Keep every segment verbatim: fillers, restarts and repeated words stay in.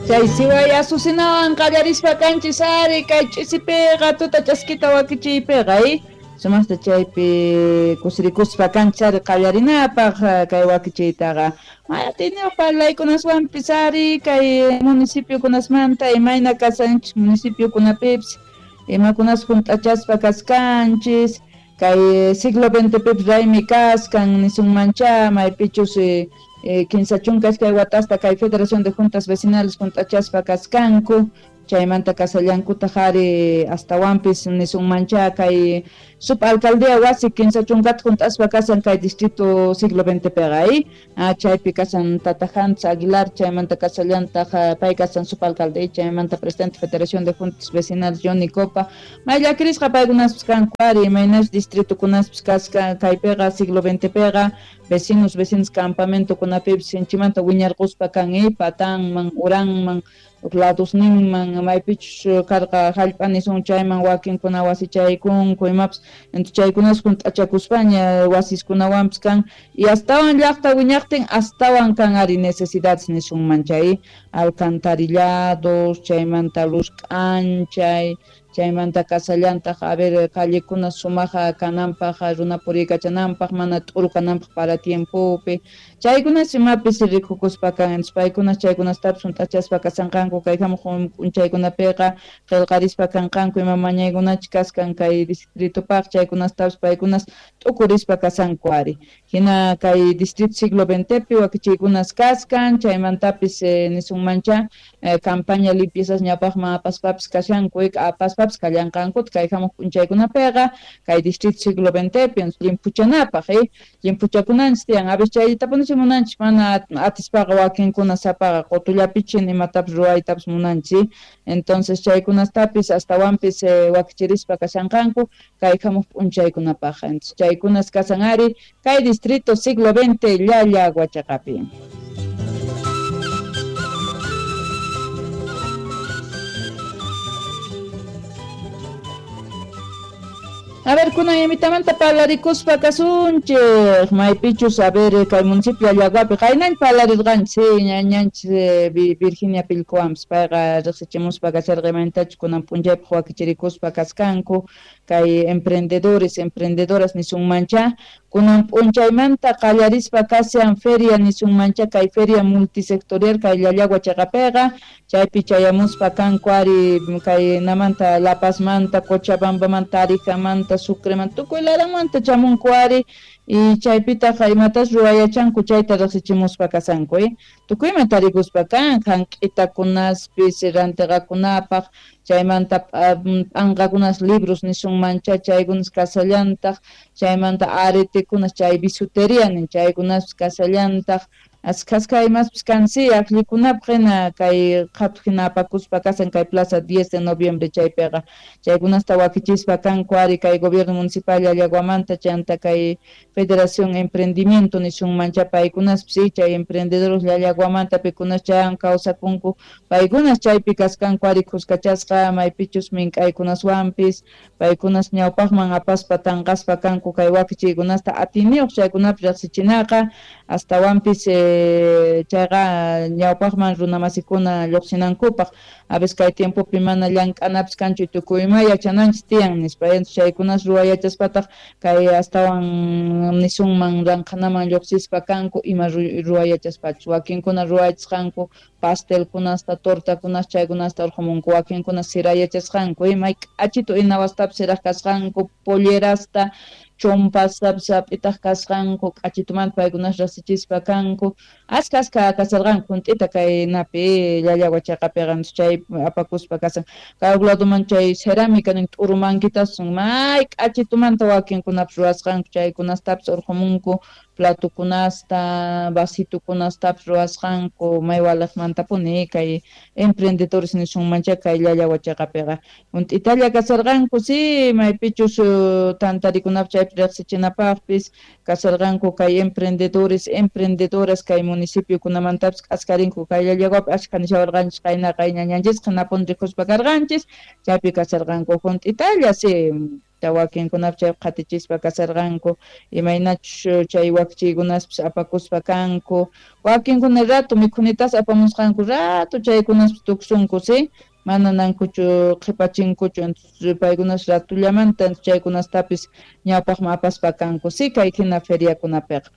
Chay siway asusinawan qallarispa kanchis ari kay ch'isipiqa tuta chaskita wakichiypiqa eh sumaqta chaypi kusirikuspa kanchis ari qallarinapaq kay wakichiytaqa mayatiniq parlaykunaswanpis ari kay municipiokunasmanta imayna kasanchis municipiokunapipis imakunas hunt'achaspa kaskanchis kay siglo veinte pipis raymi kaskan nisunmancha maypichus eh, kinsa chunka iskay watasta kay Federación de Juntas Vecinales hunt'achaspa kaskanku chaymanta kasallankutaq ari astawanpis nisunmancha kay subalcaldía wasi kinsa chunkata hunt'aspa kasan kay distrito siglo veinte piqa eh chaypi kasan Tata Hans Aguilar chaymanta kasallantaq pay kasan subalcalde chaymanta presidente Federación de Juntas Vecinales Johnny Copa may llakirisqa paykunaspis kanku ari imaynas distritokunaspis kasqa kaypiqa siglo veinte piqa vecinos vecinos campamento kunapipis sinchimanta wiñarquspa kan eh patanman uranman ladosninman maypichus karqa hallp'a nisun chayman wakinkuna wasichaykunku imapas entonces chaykunas hunt'achakuspaña wasiskunawanpis kan y astawan llaqta wiñaqtin astawan kan ari necesidades nisunman chay alcantarillados chaymanta luz k'anchay chaymanta kasallantaq a ver callekuna sumaqa kananpaq runa puriykachananpaq mana t'uru kananpaq para tiempopi chaykunas imapis rikukuspa kan entonces paykunas chaykunastapis hunt'achaspa kasanqanku kay hamuq p'unchaykunapiqa qillqarispa kanqanku ima mañaykunachus kaskan kay distritopaq chaykunastapis paykunas t'ukurispa kasanku ari hina kay distrito siglo veinte pi wakichiykunas kaskan chaymantapis eh, nisunmancha eh, campaña limpiezas ñawpaqman apaspapis kashanku apaspapis kallanqankuta kay hamuq p'unchaykunapiqa kay distrito siglo veinte pi llimphuchanapaq eh llimphuchakunanchis tiyan a veces chayllatapunich munanchis mana atispaqa wakinkuna sapaqa qutullapichin imatapis ruwaytapis munanchis entonces chaykunastapis astawanpis eh, wakichirispa kashanqanku kay hamuq p'unchaykunapaq entonces chaykunas kasan ari kay distrito siglo veinte Llallagua chaqapi. A ver, kunan imitamanta parlarikuspa kasunchik maypichus a ver kay municipio Llallaguapi qaynañ parlarirqanchis ñañanchis Virginia Pilcoampis payqa riqsichimuspa kasharqa imaynatachus kunan p'unchaypaq wakichirikuspa kaskanku kay emprendedores emprendedoras nisunmancha kunan p'unchaymanta qallarispa kashan feria nisunmancha kay feria multisectorial kay Llallagua chaqapiqa chaypi chayamuspa kanku ari kay namanta La Pazmanta Cochabambamanta Arijamanta Sucremanta tukuy laranmanta chamunku ari y chaypitaq imatas ruwayachanku chayta riqsichimuspa kasanku eh tukuyman tarikuspa kan hank'itakunaspis rantiqakunapaq chaymanta p'anqakunas libros nisunmancha chaykunas kasallantaq chaymanta aretekunas chay bisuteria nin chaykunaspis kasallantaq askhaska imaspis kan si aqllikunapaq hina kay qhatu hina apakuspa kasan kay plaza diez de noviembre chaypiqa chaykunasta wakichispa kanku ari kay gobierno municipal Llallaguamanta chanta kay Federación Emprendimiento nisunmancha paykunaspis si chay emprendedores Llallaguamanta pikunas chayan kawsakunku paykunas chaypi kaskanku ari kuskachasqa maypichus mink'aykunaswanpis paykunas ñawpaqman apaspa tanqaspa kanku kay wakichiykunasta atiniyuq chaykunapi riqsichinaqa astawanpis eh, chayqa ñawpaqman runamasikuna lluqsinankupaq a veces kay tiempopi mana llank'anapis kanchu tukuy ima yachananchis tiyan nispa entonces chaykunas ruwayachaspataq kay astawan nisunman ranqhanaman lluqsispa kanku ima ruwayachaspachus wakinkuna ruwayachisqanku pastelkunasta tortakunas chaykunasta urqumunku wakinkuna sirayachasqanku may k'achitu inawastapis siraq kasqanku pollerasta chompastapis hap'itaq kasqanku k'achitumanta paykunas riqsichispa kanku aska aska kasarqanku hunt'ita kay napi Llallagua chaqapiqa chay apakuspa kasan kay huk ladoman chay cerámica nin t'uru mankitas may k'achitumanta wakinkunapis ruwasqanku chaykunastapis urqumunku platokunasta vasitokunastapis ruwasqanku may waliqmantapuni kay emprendedores nisunmancha kay Llallagua chaqapiqa hunt'italla kasarqanku si maypichus tantarikunapis chaypi riqsichinapaqpis kasarqanku kay emprendedores emprendedoras kay municipiokunamantapis k'askarinku kay Llallaguapi ashkha nishawarqanchis qaynaqa ñañanchisqa hinapuni rikuspa karqanchis chaypi kasarqanku hunt'italla si. Wakinkunapis chay qhatichispa kasarqanku imaynachus chay wakichiykunaspis apakuspa kanku wakinkuna rato mikhunitas apamusqanku rato chaykunaspis tuksunku si mana nankuchu qhipachinkuchu entonces paykunas ratullamanta chaykunastapis ñawpaqman apaspa kanku si kay hina feriakunapiqa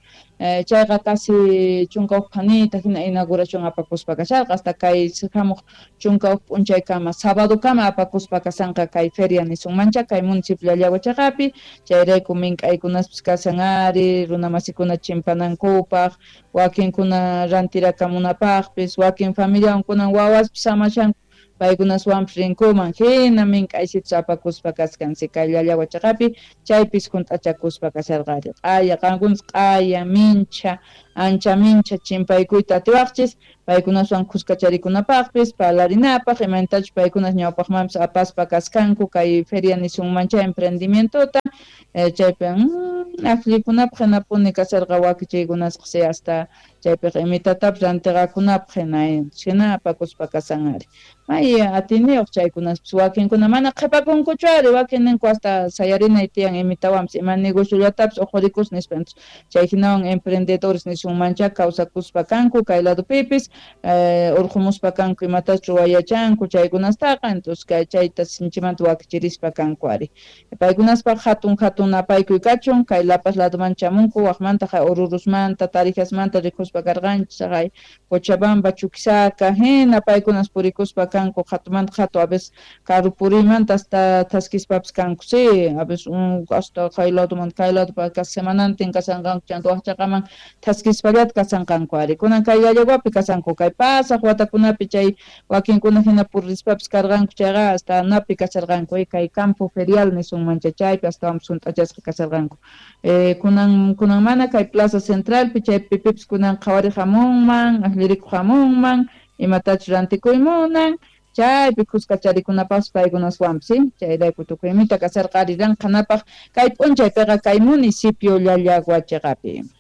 chayqa casi chunka huk phanita hina inauguración apakuspa kasharqa hasta kay hamuq chunka huk p'unchaykama sabadokama apakuspa kasanqa kay feria nisunmancha kay municipio Llallagua chaqapi chayrayku mink'aykunaspis kasan ari runamasikuna chimpanankupaq wakinkuna rantirakamunapaqpis wakin familiawankunan wawaspis samashanku paykunaswanpis rinkuman hina mink'aysitus apakuspa kaskan si kay Llallagua chaqapi chaypis hunt'achakuspa kasharqari q'aya qankunas q'aya mincha ancha mincha chimpaykuyta atiwaqchis paykunaswan kuskacharikunapaqpis parlarinapaq imaynatachus paykunas ñawpaqmanpis apaspa kaskanku kay feria nisunmancha emprendimientota chaypi aqllikunapaq hinapuni kasharqa wakichiykunasqa si hasta chaypiqa imitatapis rantiqakunapaq hina hina apakuspa kasan ari may atiniyuq chaykunaspis wakinkuna mana qhipakunkuchu ari wakin ninku hasta sayarinay tiyan imitawanpis ima negociollatapis uqhurikus nispa chay hinawan emprendedores nisunmancha kawsakuspa kanku kay ladupipis urqumuspa kanku imatachus ruwayachanku chaykunastaqa entonces kay chayta sinchimanta wakichirispa kanku ari paykunaspaq hatun hatun napaykuy kachun kay La Paz laduman chamunku waqmanta Orurusmanta Tarijasmanta rikuspa karqanchis haqay Cochabamba Chuquisaca hina paykunas purikuspa kanku hatumanta hatu a veces karu puriymanta hasta thaskispapis kanku si a veces hasta kay ladumanta kay ladupa semanantin kasanqanku chanta waq chaqaman thaskispallata kasanqanku ari kunan kay Llallaguapi kasanku kay pasaq watakunapi chay wakinkuna hina purispapis karqanku chayqa hasta napi kasharqanku kay campo ferial nisunmancha chaypi astawanpis hunt'achasqa kasharqanku kunan kunan mana kay plaza centralpi chaypi pipis kunan qhawariq hamunman aqllirikuq hamunman imatachus rantikuy munan chaypi kuskacharikunapaqpas paykunaswanpis si chayrayku tukuy imita kasharqa ari ranqanapaq kay p'unchaypiqa kay municipio Llallagua chaqapi.